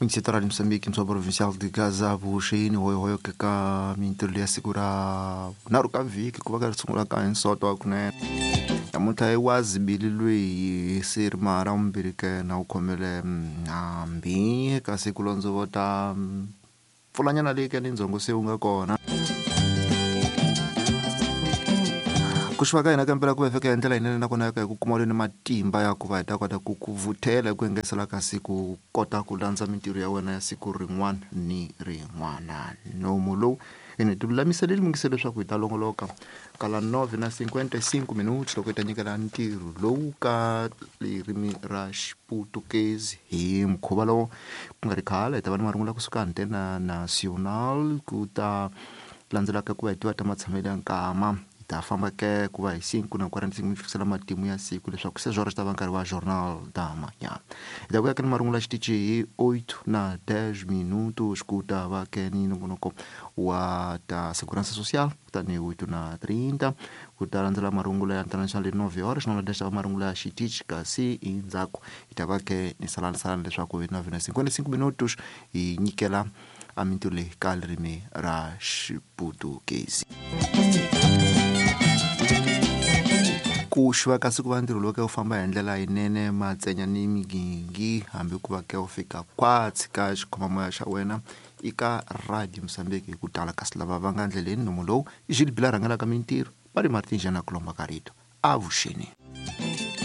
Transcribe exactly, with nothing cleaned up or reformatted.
Municipal de Moçambique, Msoa Provincial de Gaza, Vuxeni, hoyo hoyo ka mintirho ya siku ra vunharhu ka vhiki ku va ka ri sungula ka hinsoto wa kunene. Namuntlha i wa zibililwe hi sirima ra vumbirhi ke na wu khomele hambi ka siku londzo ta mpfulanyana leyi ke ni ndzhongo se wu nga kona. Ku xiva ka hina ka mpela ku va fika hi ndlela yinene nakona hi ku kuma ni matimba ya ku va hi ta kota ku ku vuthela hi ku engetela ka siku kota ku landza mintirho ya wena ya siku rin'wana ni rin'wana. Nomu lowu ene ti lulamiseleli mungise leswaku hi ta longoloka kala nove na cinquenta e cinco minutos loko hi ta nyikela ntirho lowu ka ririmi ra Xiputukezi hi mukhuva lowu ku nga ri khale hi ta va ni marungula kusuka Antena Nacional ku ta landzelaka ku va hi tiva ta matshamelo ya nkama. Ta famba ke ku va hi cinco na quarenta e cinco fikisela matimu ya siku leswaku se swona swi ta va nkarhi wa Jornal da Manhã. Hi ta vuya ke ni marungula xitichi hi oito na dez minutos ku ta va ke ni nongonoko wa ta Segurança Social kutani oito na trinta ku ta landzela marungula ya International hi nove horas na dez ta va marungula ya xitichi kasi endzhaku hi ta va ke ni salanisalani leswaku hi nove na cinquenta e cinco minutos hi nyikela a mintirho leyi ka ririmi ra Xiputukezi. Ku xiva ka siku va ntirho lowu ke wu famba hi ndlela yinene matsenya ni migingi hambi ku va ke wu fika kwatsi ka xikhomamoya xa wena i ka Radio Mozambique hi ku tala kasi lava va nga ndleleni nomu lowu i Gilles Bila rhangelaka mintirho va ri Martin Jana ku lomba ka rito avuxeni.